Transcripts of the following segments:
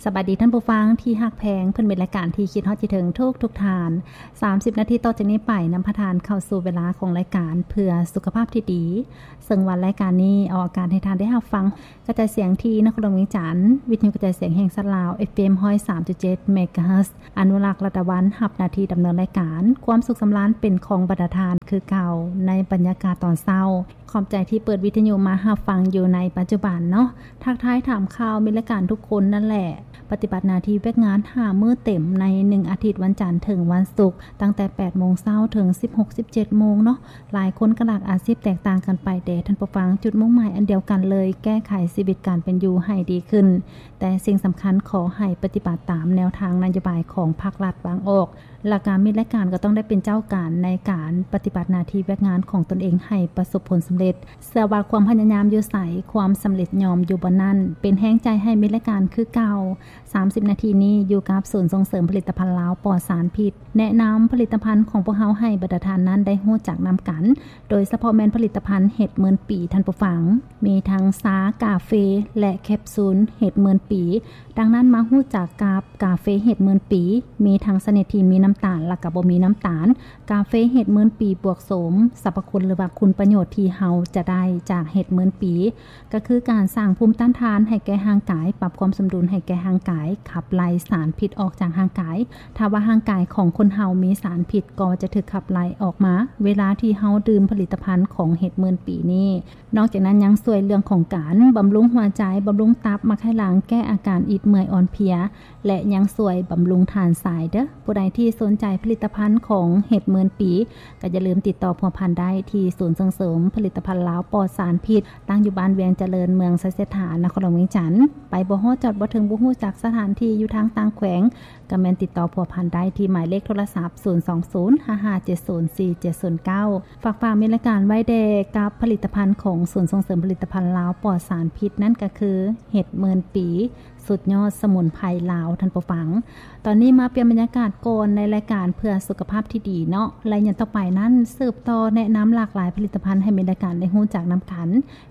ສະບາຍດີທ່ານຜູ້ຟັງທີ່ຮັກແພງ, ເພິ່ນເປັນລາຍການທີ່ຄິດຮອດຄິດເຖິງທຸກໆທ່ານ. ສາມສິບນາທີຕໍ່ຈາກນີ້ໄປ ນຳພາທ່ານເຂົ້າສູ່ເວລາຂອງລາຍການເພື່ອສຸຂະພາບທີ່ດີ, ເຊິ່ງວ່າລາຍການນີ້ອອກອາກາດໃຫ້ທ່ານໄດ້ຮັບຟັງ ກະຈາຍສຽງທີ່ນະຄອນຫຼວງວຽງຈັນ, ວິທະຍຸກະຈາຍສຽງແຫ່ງຊາດລາວ ເອຟເອັມຮ້ອຍສາມຈຸດເຈັດເມກາເຮີດ. ອະນຸລັກ ລັດດາວັນ ຮັບໜ້າທີ່ດຳເນີນລາຍການ. ຄວາມສຸກສຳລານເປັນຂອງບັນດາທ່ານຄືເກົ່າ ໃນບັນຍາກາດຕອນເຊົ້າ. ຂອບໃຈທີ່ເປີດວິທະຍຸມາຮັບຟັງຢູ່ໃນປັດຈຸບັນເນາະ. ທັກທາຍຖາມຂ່າວມິດລາຍການທຸກຄົນນັ້ນແຫຼະ. ປະຕິບັດໜ້າທີ່ວຽກງານຫ້າມື້ເຕັມໃນໜຶ່ງອາທິດ, ວັນຈັນເຖິງວັນສຸກ, ຕັ້ງແຕ່ແປດໂມງເຊົ້າເຖິງສິບຫົກ ສິບເຈັດໂມງເນາະ. ຫຼາຍຄົນກໍຫຼາກອາຊີບແຕກຕ່າງກັນໄປເດທ່ານຜູ້ຟັງ, ຈຸດມຸ່ງໝາຍອັນດຽວກັນເລີຍ, ແກ້ໄຂຊີວິດການເປັນຢູ່ໃຫ້ດີຂຶ້ນ. ແຕ່ສິ່ງສຳຄັນ, ຂໍໃຫ້ປະຕິບັດຕາມແນວທາງນະໂຍບາຍຂອງພັກລັດວາງອອກ. ແລ້ວກະມິດລາຍການກໍຕ້ອງໄດ້ເປັນເຈົ້າການໃນການປະຕິບັດໜ້າທີ່ວຽກງານຂອງຕົນເອງໃຫ້ປະສົບຜົນສຳເລັດ. ເຊື່ອວ່າຄວາມພະຍາຍາມຢູ່ໃສ, ຄວາມສຳເລັດຍ່ອມຢູ່ບ່ອນນັ້ນ. ເປັນແຮງໃຈໃຫ້ມິດລາຍການຄືເກົ່າ. ສາມສິບນາທີນີ້ຢູ່ກັບສູນສົ່ງເສີມຜະລິດຕະພັນລາວປອດສານພິດ. ແນະນຳຜະລິດຕະພັນຂອງພວກເຮົາໃຫ້ບັນດາທ່ານນັ້ນໄດ້ຮູ້ຈັກນຳກັນ, ໂດຍສະເພາະແມ່ນຜະລິດຕະພັນເຫັດໝື່ນປີ, ທ່ານຜູ້ຟັງ. ມີທັງຊາ, ກາເຟ ແລະ ແຄບຊູນເຫັດໝື່ນປີ. ດັ່ງນັ້ນມາຮູ້ຈັກກັບກາເຟເຫັດໝື່ນປີ, ມີທັງຊະນິດທີ່ມີນ້ຳຕານ ແລະ ກໍບໍ່ມີນ້ຳຕານ. ກາເຟເຫັດໝື່ນປີບວກໂສມ ສັບພະຄຸນ ຫຼືວ່າຄຸນປະໂຫຍດທີ່ເຮົາຈະໄດ້ຈາກເຫັດໝື່ນປີ ກໍຄືການສ້າງພູມຕ້ານທານໃຫ້ແກ່ຮ່າງກາຍ, ປັບຄວາມສົມດຸນໃຫ້ແກ່ຮ່າງກາຍ, ຂັບໄລ່ສານພິດອອກຈາກຮ່າງກາຍ. ຖ້າວ່າຮ່າງກາຍຂອງຄົນເຮົາມີສານພິດ, ກໍຈະຖືກຂັບໄລ່ອອກມາ ເວລາທີ່ເຮົາດື່ມຜະລິດຕະພັນຂອງເຫັດໝື່ນປີນີ້. ນອກຈາກນັ້ນຍັງຊ່ວຍເລື່ອງຂອງການບຳລຸງຫົວໃຈ, ບຳລຸງຕັບ, ໝັກໄຂ່ຫຼັງ, ແກ້ອາການອິດເມື່ອຍອ່ອນເພຍ ແລະ ຍັງຊ່ວຍບຳລຸງທານຊາຍເດີ້. ຜູ້ໃດທີ່ສົນໃຈຜະລິດຕະພັນຂອງເຫັດໝື່ນປີ, ກໍຢ່າລືມຕິດຕໍ່ພົວພັນໄດ້ທີ່ສູນສົ່ງເສີມຜະລິດຕະພັນລາວປອດສານພິດ, ຕັ້ງຢູ່ບ້ານວຽງຈະເລີນ, ເມືອງໄຊເສດຖາ, ນະຄອນຫຼວງວຽງຈັນ. ໄປບໍ່ຮອດ, ຈອດບໍ່ເຖິງ, ບໍ່ຮູ້ຈັກສະຖານທີ່ຢູ່ທາງຕ່າງແຂວງ, ກໍແມ່ນຕິດຕໍ່ພົວພັນໄດ້ທີ່ໝາຍເລກໂທລະສັບ ສູນສອງສູນ ຫ້າຫ້າເຈັດສູນ ສີ່ເຈັດສູນເກົ້າ. ຝາກຝາກມີລາຍການໄວ້ແດ່ກັບຜະລິດຕະພັນຂອງສູນສົ່ງເສີມຜະລິດຕະພັນລາວປອດສານພິດ, ນັ້ນກໍຄືເຫັດໝື່ນປີ ສຸດຍອດສະໝຸນໄພລາວ, ທ່ານຜູ້ຟັງ. ຕອນນີ້ມາປ່ຽນບັນຍາກາດກ່ອນໃນລາຍການເພື່ອສຸຂະພາບທີ່ດີເນາະ, ແລະ ຢ່າງຕໍ່ໄປນັ້ນ ສືບຕໍ່ແນະນຳຫຼາກຫຼາຍຜະລິດຕະພັນໃຫ້ມີລາຍການໄດ້ຮູ້ຈັກນຳກັນ.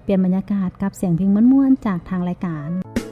ປ່ຽນບັນຍາກາດກັບສຽງເພງມ່ວນໆຈາກທາງລາຍການ.